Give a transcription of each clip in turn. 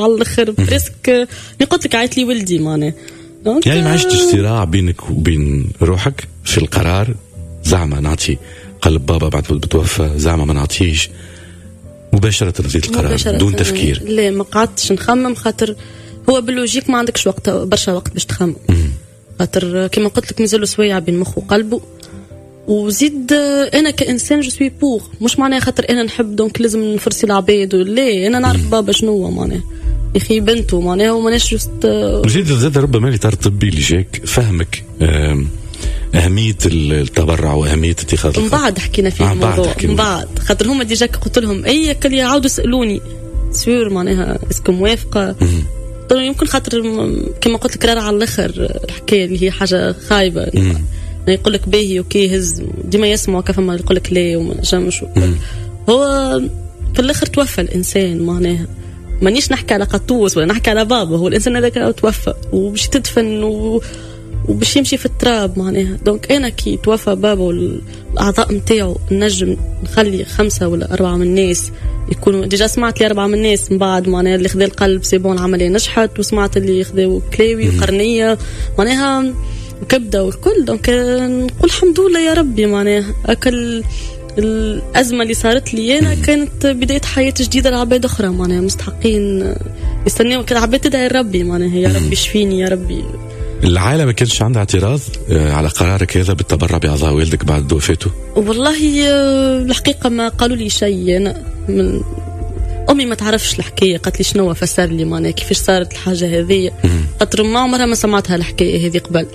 على الاخر presque قلت لك عيط لي ولدي معناها. يعني ما عشتش صراع بينك وبين روحك في القرار، زعما نعطي قلب بابا بعد ما بتوفى، زعما ما نعطيش؟ مباشرة خذيت القرار دون تفكير؟ لا ما قعدتش نخمم، خاطر هو بال logique ما عندكش وقت برشا وقت باش تخمم، خاطر كما قلت لك مازالوا سوايع بين مخه وقلبه. وزيد انا كانسان je suis pour، مش معناها خاطر انا نحب donc لازم نفرسي العباد، لا انا نعرف بابا شنو هو معناها، يا اخي بنته معناها وماناش juste. وزيد زاد ربما الاطار الطبي اللي جاك فهمك أهمية التبرع وأهمية اتخاذ القرار. من بعد حكينا فيه الموضوع، من بعد خاطر هما déjà قلت لهم اي كل يعاودوا سالوني sûr معناها est-ce que موافقة. يمكن خاطر كما قلت لك على الاخر الحكاية اللي هي حاجة خايبة، يقول لك باهي OK هز، ديما يسمعوا كيف ما يقول لك لا وما نجمش. هو في الاخر توفى الانسان معناها، مانيش نحكي على قطوس ولا نحكي على بابا، هو الانسان هذاك توفى وباش تدفن وباش يمشي في التراب معناها. donc انا كي توفى بابا والاعضاء نتاعو نجم نخلي 5 ولا 4 من الناس يكونوا déjà. سمعت لي 4 من الناس من بعد معناها اللي خذا القلب c'est bon العملية نجحت، وسمعت اللي خذاو كلاوي وقرنيه معناها وكبده والكل. donc نقول الحمد لله يا ربي معناها اكل الازمة اللي صارت لي انا كانت بداية حياة جديدة لعباد اخرى معناها مستحقين يستناو العباد تدعي ربي معناها يا ربي شفيني يا ربي. العائلة ما كانش عندها اعتراض على قرارك هذا بالتبرع بأعضاء والدك بعد وفاته؟ والله الحقيقة ما قالوا لي شيء. أنا من أمي ما تعرفش الحكاية، قالت لي شنو فسر لي معناها كيفاش صارت الحاجة هذه، خاطر ما عمرها ما سمعتها الحكاية هذه قبل.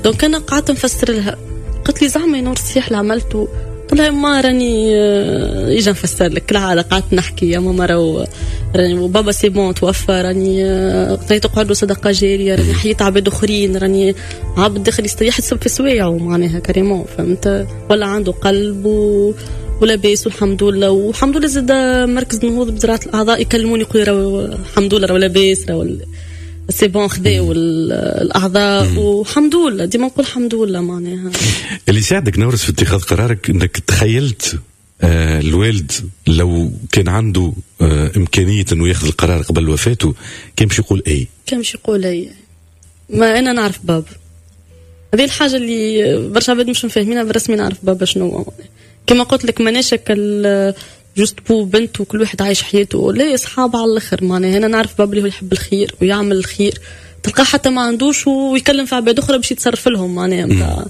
donc أنا قعدت نفسر لها، قالت لي زعما نور الصحيح اللي عملته؟ قلت لها ما راني اجا نفسر لك العادة. قعدت نحكي يا ماما راهو راني بابا c'est bon توفى، راني تقعد له صدقه جارية، راني حييت عباد اخرين، راني عبد داخل يحسب في سوايعه معناها carrément فهمت، ولا عنده قلب ولاباس والحمد لله. والحمد لله زاد مركز النهوض بزراعه الاعضاء يكلموني يقولوا راهو الحمد لله راهو لاباس، راهو c'est bon خذاو الاعضاء والحمد لله. ديما نقول الحمد لله معناها. اللي ساعدك نورس في اتخاذ قرارك انك تخيلت الوالد لو كان عنده امكانية انه ياخذ القرار قبل وفاته كان باش يقول اي؟ كان باش يقول اي. ما انا نعرف بابا، هذه الحاجة اللي برشا عباد مش فاهمينها، بالرسمي نعرف بابا شنو. كما قلت لك ماناش juste بو بنت وكل واحد عايش حياته، لا اصحاب على الاخر معناها. انا نعرف بابا اللي هو يحب الخير ويعمل الخير، تلقاه حتى ما عندوش ويكلم في عباد اخرى باش يتصرف لهم معناها.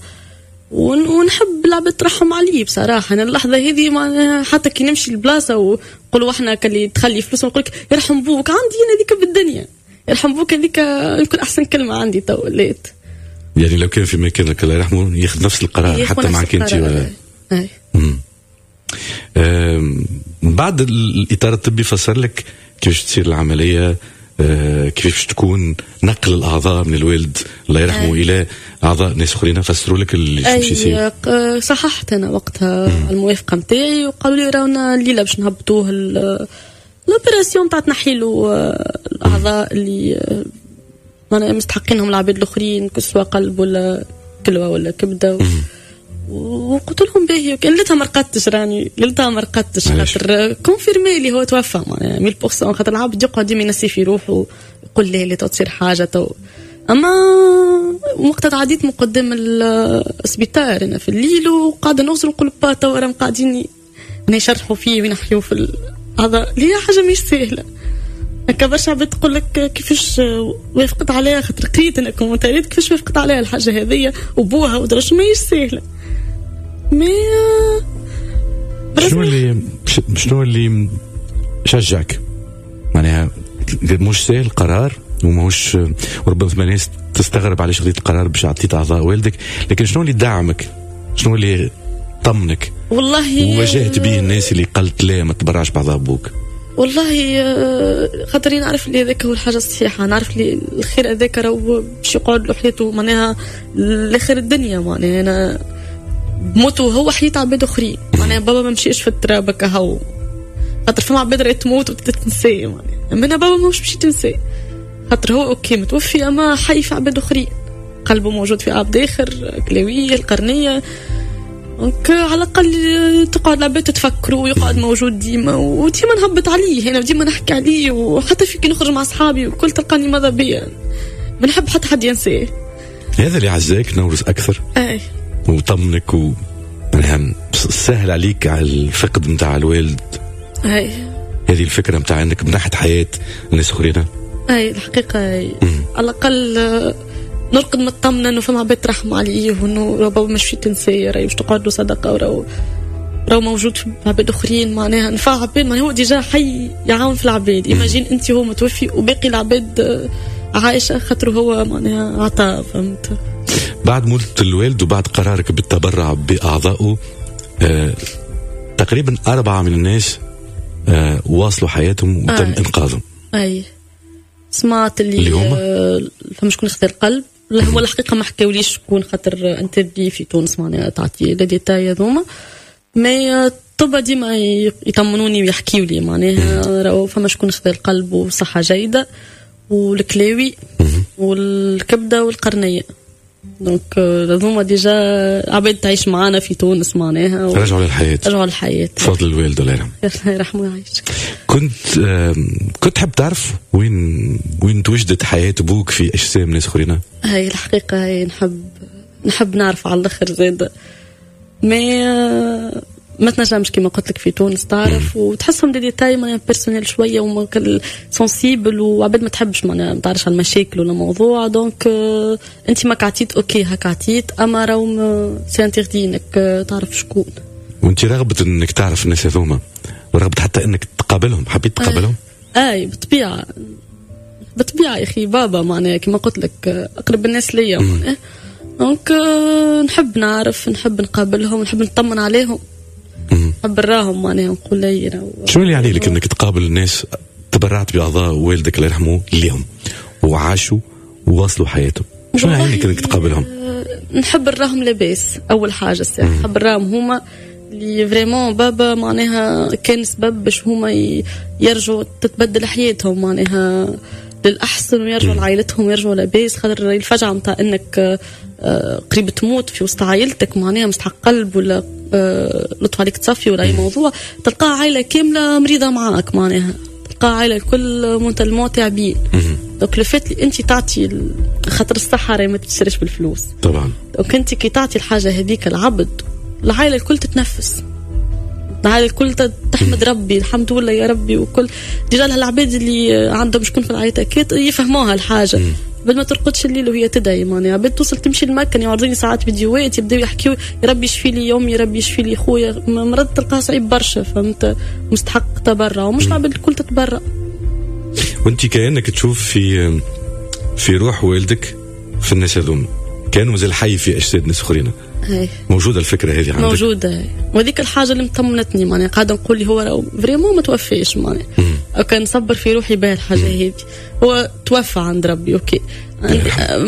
ونحب العباد ترحم عليه بصراحة. انا اللحظة هذه معناها حتى كي نمشي لبلاصه ونقولوا احنا كلي تخلي فلوس ونقول لك يرحم بوك، عندي انا هذيك بالدنيا يرحم بوك، هذيك يمكن احسن كلمة عندي تو ولات. يعني لو كان في مكانك الله يرحمه ياخذ نفس القرار حتى معك انت ولا؟ اي. بعد الإطار الطبي فسر لك كيفاش تصير العملية، كيفاش تكون نقل الأعضاء من الوالد الله يرحمه إلى أعضاء ناس أخرين، فسروا لك اللي باش يصير؟ صححت أنا وقتها الموافقة نتاعي وقالوا لي راونا الليلة باش نهبطوه l'opération تاع تنحيلو الأعضاء اللي مستحقينهم العباد الآخرين، سواء قلب ولا كلوة ولا كبدة. وقلت لهم باهي. ليلتها ما رقدتش، راني ليلتها ما رقدتش خاطر confirmé لي هو توفى معناها 100%، خاطر العبد يقعد ديما ينسي في روحه يقول لي لا تصير حاجة تو. اما وقتها تعديت من قدام السبيطار انا في الليل وقاعدة نغزر نقول با تو راهم قاعدين يشرحوا فيه وينحيوا في هذا، اللي هي حاجة مش سهلة. هكا برشا عباد تقول لك كيفاش وافقت عليها، خاطر قريت انا commentaire ات كيفاش وافقت عليها الحاجة هذيا وبوها ودرش، ماهيش سهلة. mais شنو اللي شجعك؟ معناها مش سهل القرار وماهوش، وربما ثم ناس تستغرب علاش خذيت القرار باش عطيت اعضاء والدك، لكن شنو اللي دعمك؟ شنو اللي طمنك؟ والله وواجهت به الناس اللي قالت لا ما تبرعش باعضاء ابوك؟ والله خاطري نعرف اللي هذاك هو الحاجة الصحيحة، نعرف اللي الخير هذاك راهو باش يقعد له حياته معناها لاخر الدنيا معناها. انا بموتو هو حياة عباد اخرين معناها، بابا ما مشيش في التراب هكا، خاطر فما عباد راهي تموت وتتنسى معناها، اما انا بابا ماهوش باش يتنسى خاطر هو OK متوفي اما حي في عباد اخرين، قلبه موجود في عبد اخر، كلاويه القرنيه. donc على الاقل تقعد العباد تتفكروا ويقعد موجود ديما، وديما نهبط عليه انا وديما نحكي عليه، وحتى في كي نخرج مع اصحابي وكل تلقاني ماذا بيا، ما نحب حتى حد ينساه. هذا اللي عزاك نورس اكثر. اي وطمنك و سهل عليك على الفقد نتاع الوالد. اي هذه الفكرة نتاع انك منحت حياة الناس اخرين. اي الحقيقة على الاقل نرقد مطمنه انه فما عباد ترحم عليه، وانه بابا مش في تنساه، راهي باش تقعد له صدقه، وراهو موجود في عباد اخرين، معناها نفع عباد، معناها هو déjà حي يعاون في العباد. imagine انت هو متوفي وباقي العباد عايشه خاطر هو معناها عطاء، فهمت؟ بعد موت الوالد وبعد قرارك بالتبرع باعضائه تقريبا 4 من الناس واصلوا حياتهم وتم انقاذهم. اي سمعت اللي هما فما شكون خذا القلب. لا هو الحقيقة ما حكاوليش شكون، خاطر interdit في تونس معناها تعطي les détails هذوما، mais الطب ديما يطمنوني ويحكيوا لي معناها راهو فما شكون خذا القلب وصحة جيدة، والكلاوي والكبده والقرنيه. donc هذوما déjà عباد تعيش معانا في تونس معناها رجعوا للحياة. رجعوا للحياة بفضل الوالد الله يرحمه. الله يرحمه ويعيشك. كنت تحب تعرف وين توجدت حياة ابوك في اجسام ناس اخرين؟ هاي الحقيقة هاي نحب نعرف على الاخر زاد، mais ما تنجمش كيما قلت لك في تونس تعرف، وتحسهم des détails معناها personnels شوية وما sensibles، وعباد ما تحبش معناها ما تعرفش على المشاكل ولا موضوع. donc انت ما عطيت OK هاك عطيت، اما راهو c'est interdit انك تعرف شكون. وانت رغبة انك تعرف الناس هذوما، ورغبة حتى انك تقابلهم، حبيت تقابلهم؟ اي بالطبيعة بالطبيعة يا اخي، بابا معناها كيما قلت لك اقرب الناس ليا معناها. donc نحب نعرف، نحب نقابلهم، نحب نطمن عليهم، نحب نراهم معناها نقول لي شنو اللي يعني لك انك تقابل الناس تبرعت باعضاء والدك الله يرحمه ليهم وعاشوا وواصلوا حياتهم، شنو يعني لك انك تقابلهم؟ نحب نراهم لاباس اول حاجة الساعة، نحب نراهم هما اللي vraiment بابا معناها كان سبب باش هما يرجعوا تتبدل حياتهم معناها للاحسن، ويرجعوا لعائلتهم ويرجعوا لاباس. خاطر الفجعه نتاع انك قريب تموت في وسط عائلتك معناها مستحق قلب ولا لطف عليك تصفي ولا اي موضوع، تلقى عائلة كاملة مريضه معاك معناها، تلقى عائلة الكل mentalement تعبين. donc le fait اللي انت تعطي، خاطر الصحة راهي ما تشتريش بالفلوس طبعا. donc انت كي تعطي الحاجة هذيك العبد، العائلة الكل تتنفس، العائلة الكل تحمد ربي الحمد لله يا ربي. وكل déjà العباد اللي عندهم شكون في العائلة كي يفهموها الحاجة، بل ما ترقدش الليل وهي تدعي معناها. عباد توصل تمشي المكان يعرضوني ساعات فيديوهات يبداو يحكيو يا ربي يشفي لي يومي، يا ربي يشفي لي خويا، مرض تلقاه صعيب برشا، فهمت؟ مستحق تبرع، ومش العباد الكل تتبرع. وانت كانك تشوف في روح والدك في الناس هذوما، كانوا مازال حي في اجساد ناس اخرين. موجودة الفكرة هذه عندك؟ موجودة، وهذيك الحاجة اللي مطمنتني معناها، قاعدة نقول لي هو vraiment ما توفيش معناها، كان نصبر في روحي بها الحاجة هذه. هو توفى عند ربي OK،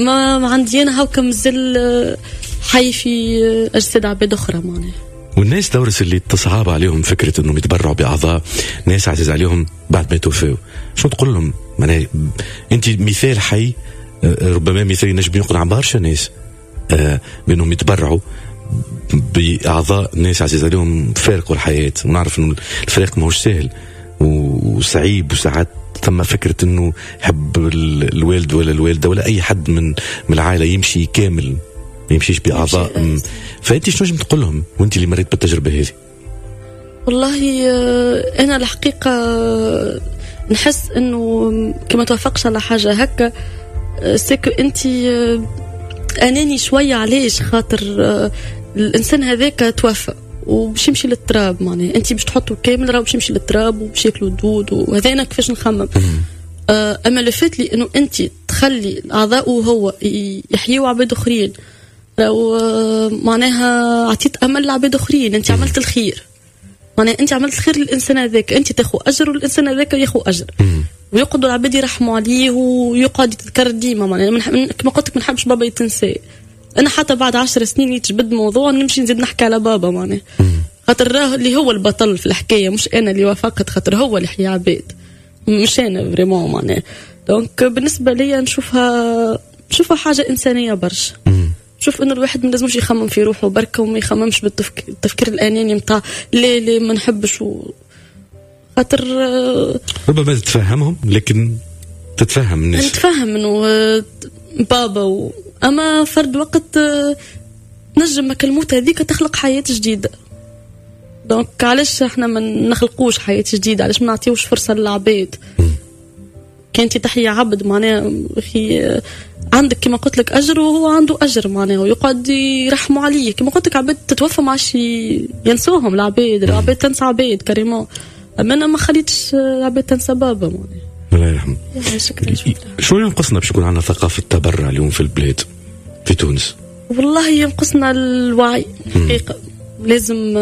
ما عندي انا هاكا مازال حي في اجساد عباد اخرى معناها. والناس دورس اللي تصعب عليهم فكرة انهم يتبرعوا باعضاء ناس عزيز عليهم بعد ما يتوفوا، شنو تقول لهم؟ معناها انت مثال حي، ربما مثال ينجم يقنع برشا ناس بانهم يتبرعوا باعضاء ناس عزيز عليهم فارقوا الحياة. ونعرف انه الفراق ماهوش سهل وصعيب، وساعات ثم فكرة انه يحب الوالد ولا الوالدة ولا اي حد من العائلة يمشي كامل، ما يمشيش باعضاء. فانت شنو نجم تقول لهم وانت اللي مريت بالتجربة هذه؟ والله انا الحقيقة نحس انه كما توافقش على حاجة هكا c'est que انت اناني شوية. علاش؟ خاطر الانسان هذاك توفى وباش يمشي للتراب معناها، انت باش تحطه كامل راه باش يمشي للتراب وباش ياكلوا الدود، وهذا انا كيفاش نخمم. اما le fait لي انه انت تخلي الاعضاء وهو يحيوا عباد اخرين، راهو معناها عطيت امل لعباد اخرين، انت عملت الخير معناها، انت عملت الخير للانسان هذاك، انت تاخذ اجر والانسان هذاك ياخذ اجر، ويقعدوا العباد يرحموا عليه ويقعد يتذكر ديما معناها. كما قلت لك ما نحبش بابا يتنسى، انا حتى بعد 10 سنين يتجبد موضوع نمشي نزيد نحكي على بابا معناها، خاطر راه اللي هو البطل في الحكاية مش انا اللي وافقت، خاطر هو اللي حيا عباد مش انا vraiment معناها. donc بالنسبة ليا نشوفها حاجة انسانيه برشا، شوف انه الواحد ما لازمش يخمم في روحه بركة وما يخممش بالتفكير الاناني نتاع لا لا ما نحبش خاطر ربما تتفهمهم، لكن تتفهم الناس. نتفهم انه بابا اما فرد وقت نجم الموت هذيك تخلق حياة جديدة. donc علاش احنا ما نخلقوش حياة جديدة؟ علاش ما نعطيوش فرصة للعباد؟ كان انت تحيا عبد معناها اخي عندك كما قلت لك اجر وهو عنده اجر معناها، ويقعد يرحموا عليه. كما قلت لك عباد تتوفى ما عادش ينسوهم العباد، العباد تنسى عباد carrément. اما انا ما خليتش العباد تنسى بابا معناها. الله يرحمه. شو ينقصنا باش يكون عندنا ثقافة تبرع اليوم في البلاد في تونس؟ والله ينقصنا الوعي الحقيقة. لازم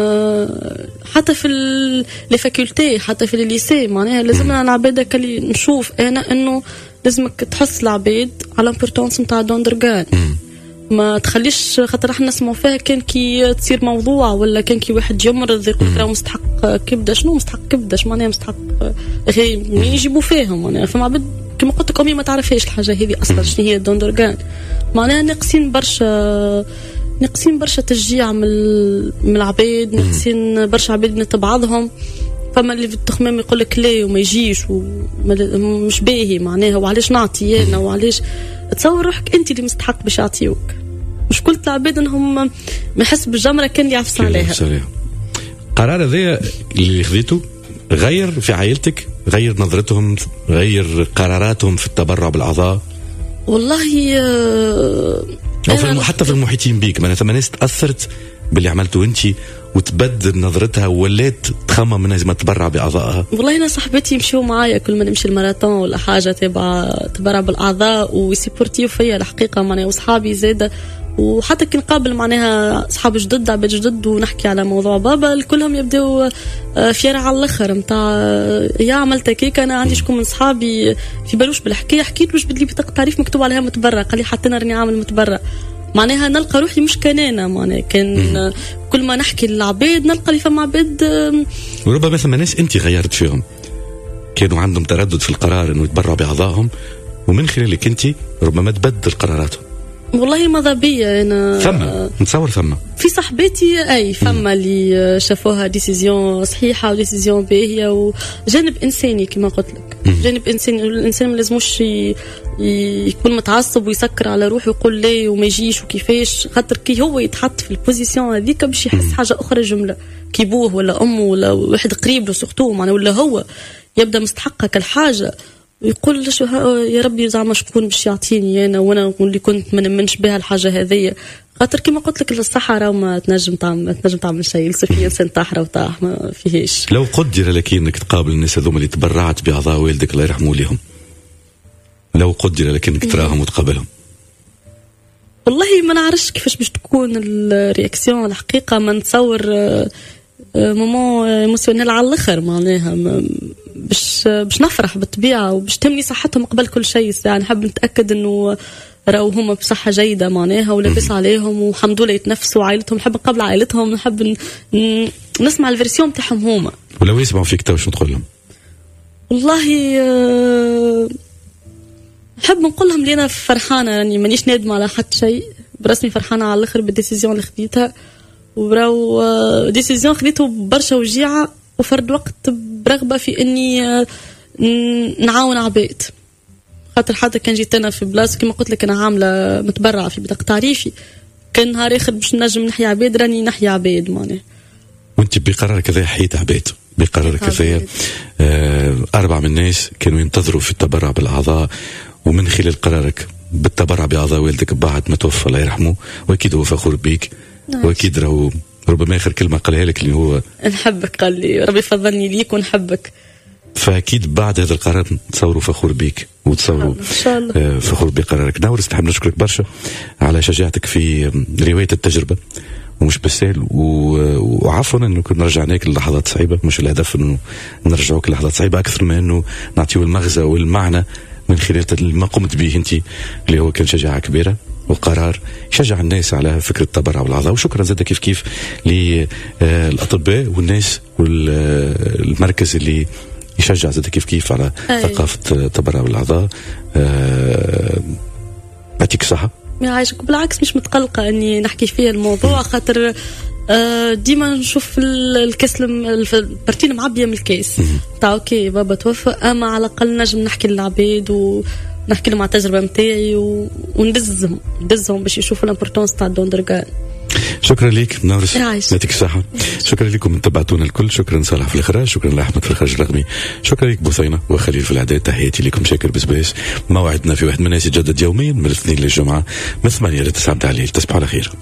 حتى في les facultés، حتى في les lycées معناها لازمنا العباد اللي نشوف انا انه لازمك تحس العباد على l'importance نتاع don d'organes. ما تخليش خاطر احنا نسمعوا فيها كان كي تصير موضوع ولا كان كي واحد يمرض يقول لك مستحق كبده. شنو مستحق كبده؟ اش معناها مستحق؟ اخي منين يجيبوا فيهم معناها؟ فما عباد كما قلت لك امي ما تعرفهاش الحاجة هذه اصلا شنو هي don d'organes. معناها ناقصين برشا، ناقصين برشا تشجيع من العباد، ناقصين برشا عباد من بعضهم. فما اللي في التخمام يقول لك لا وما يجيش ومش باهي معناها، وعلاش نعطي انا وعلاش. تصور روحك انت اللي مستحق باش يعطيوك. مشكلة العباد انهم ما يحس بالجمره كان اللي يعفس عليها. قرار هذا اللي خذيته غير في عائلتك، غير نظرتهم، غير قراراتهم في التبرع بالاعضاء؟ والله أو في حتى في المحيطين بيك معناتها ثم ناس تاثرت باللي عملته انت وتبدل نظرتها ولات تخمم انها لازم تتبرع باعضائها؟ والله انا صاحبتي يمشيو معايا كل ما نمشي الماراثون ولا حاجة تبع تبرع بالاعضاء ويسيبورتيو فيا الحقيقة معناها، وصحابي زاده. وحتى كي نقابل معناها اصحاب جدد عباد جدد ونحكي على موضوع بابا كلهم يبداو fiers على الاخر نتاع يا عملت هكاك. انا عندي شكون من صحابي في بالوش بالحكاية، حكيت له جبد لي بطاقة تعريف مكتوب عليها متبرع، قال لي حتى انا راني عامل متبرع. معناها نلقى روحي مش كنانة معناها كان كل ما نحكي للعباد نلقى اللي فما عباد. وربما ثم ناس انت غيرت فيهم كانوا عندهم تردد في القرار انه يتبرعوا باعضائهم، ومن خلالك انت ربما تبدل قراراتهم. والله ماذا بيا انا ثم نتصور ثم في صاحبتي اي فما اللي شافوها décision صحيحه و décision باهيه وجانب انساني كما قلت لك. جانب انساني، الانسان ما لازموش يكون متعصب ويسكر على روحه ويقول لا وما يجيش وكيفاش، خاطر كي هو يتحط في ال position هذيك باش يحس حاجة اخرى جملة كي بوه ولا امه ولا واحد قريب له surtout معناها، ولا هو يبدا مستحق كالحاجه ويقول شو يا ربي زعما شكون باش يعطيني انا وانا اللي كنت ما نمنش بها الحاجة هذيا. خاطر كما قلت لك الصحة راه ما تنجم تعمل شيء، في انسان طاح راه طاح ما فيهش. لو قدر لك انك تقابل الناس هذوما اللي تبرعت باعضاء والدك الله يرحمه ليهم، لو قدر لك انك تراهم وتقابلهم؟ والله ما نعرفش كيفاش باش تكون ال réaction الحقيقة. ما نتصور moment émotionnel على الاخر معناها باش نفرح بالطبيعة وباش تهمني صحتهم قبل كل شيء. يعني نحب نتاكد انه راهو هما بصحة جيدة معناها ولابس عليهم والحمد لله يتنفسوا عائلتهم. نحب نقابل عائلتهم، نحب نسمع ال version تاعهم هما. ولو يسمعوا فيك تو شنو تقول لهم؟ والله نحب نقول لهم اللي انا فرحانة، يعني مانيش نادمة على حتى شيء، برسمي فرحانة على الاخر بال décision اللي خديتها. وراو décision خديته برشا وجيعه وفرد وقت برغبه في اني نعاون عباد. خاطر حتى كان جيت انا في بلاصة كما قلت لك انا عامله متبرعه في بطاقة تعريفي، كان نهار اخر باش نجم نحيا عباد راني نحيا عباد معناها. وانت بقرارك هذا حييت عباد، بقرارك هذا 4 من الناس كانوا ينتظروا في التبرع بالاعضاء، ومن خلال قرارك بالتبرع باعضاء والدك بعد ما توفى الله يرحمه، واكيد هو فخور بيك. واكيد راهو ربما اخر كلمة قالها لك اللي هو نحبك، قال لي ربي فضلني ليك ونحبك. فاكيد بعد هذا القرار تصوروا فخور بيك وتصوروا فخور بقرارك. نورس نحب نشكرك برشا على شجاعتك في رواية التجربة ومش بالسهل، وعفوا انه كنا رجعناك للحظات صعيبة، مش الهدف انه نرجعوك للحظات صعيبة اكثر ما انه نعطيو المغزى والمعنى من خلال ما قمت به انت اللي هو كان شجاعة كبيرة وقرار يشجع الناس على فكرة التبرع بالأعضاء. وشكرا زاد كيف كيف للأطباء والناس والمركز اللي يشجع زاد كيف كيف على ثقافة التبرع بالأعضاء. يعطيك الصحة. يعيشك. بالعكس مش متقلقه اني نحكي فيه الموضوع، خاطر ديما نشوف الكاس، ال partie المعبيه من الكاس تاع OK بابا توفى، اما على الاقل نجم نحكي للعباد ونحكي لهم على التجربة نتاعي وندزهم ندزهم باش يشوفوا l'importance تاع ال don d'organes. شكرا لك نورس، يعطيك الصحة. شكرا لكم تبعتونا الكل، شكرا صالح في الإخراج، شكرا لأحمد في الإخراج الرقمي، شكرا لك بثينة وخليل في الإعداد. تحياتي لكم شاكر بسباس. موعدنا في واحد من الناس يتجدد يوميا من الاثنين للجمعة من 8 ل 9 تاع الليل. تصبحوا على خير.